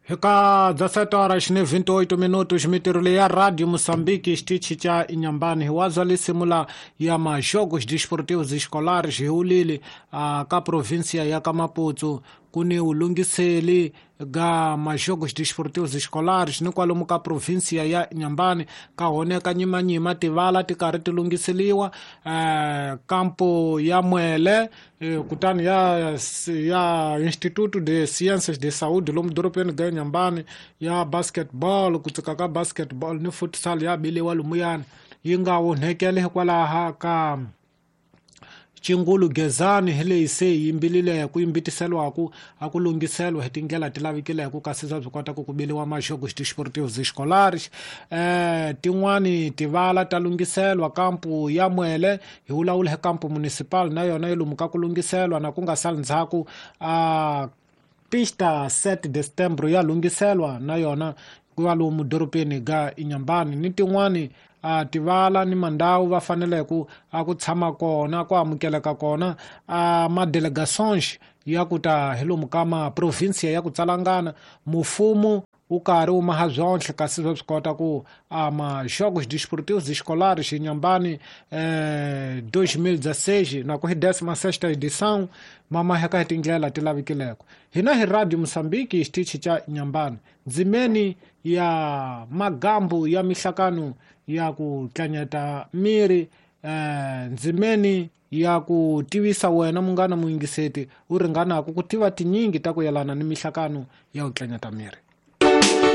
Eka 17 horas ni 28 minutos mitirho leyi ya Radio Moçambique xitichi xa Inhambane hi wazwa lisimula ya majogos desportivos escolares hi ulili ka província ya ka Maputo ku ni ulungiseli ga majogos desportivos escolares ni kwalomu ka província ya Inhambane ka honeka nyimanyima tivala ti karhi ti lunghiseliwa kampo ya Mwele kutani ya Instituto de Ciências de Saúde lomu dorobeni ga Inhambane ya basketball ku tsika ka basketball ni futsal ya biliwa lumuyani yi nga onhekele hikwalaha ka Chingulu Gezani hi leyi se yi yimbilile ku yimbitiseliwaku a ku lunghiseliwa hi tindlela ti lavikileke kasi bya byi kota ku ku biliwa majogos desportivos escolares tin'wani tivala ta lunghiselwa kampu ya Mwele hi vulavula hi kampu municipal na yona yi lomu ka ku lunghiselwa na ku nga sali ndzhaku a pista 7 de setembro ya lunghiselwa na yona ku va lomu dorobeni ga Inhambane ni tin'wani a tivala ni mandhawu va faneleke a ku tshama kona ku amukeleka kona a madelegations ya ku ta hi lomu ka maprovinsia ya ku tsalangana mufumo wu karhi wu maha byonhle kasi swa swi kota ku a majogos desportivos escolares Inhambane 2016 na ku hi 16ª edição ma maheka hi tindlela ti lavikileko hina hi Radio Moçambique xitichi xa Inhambane ndzimeni ya magambu ya mihlakano ya ku tlanyeta miri ndzimeni ya ku tivisa wena munghana muyingiseti u ringanaka ku tiva tinyingi ta ku yelana ni mihlakano ya ku tlanyeta miri.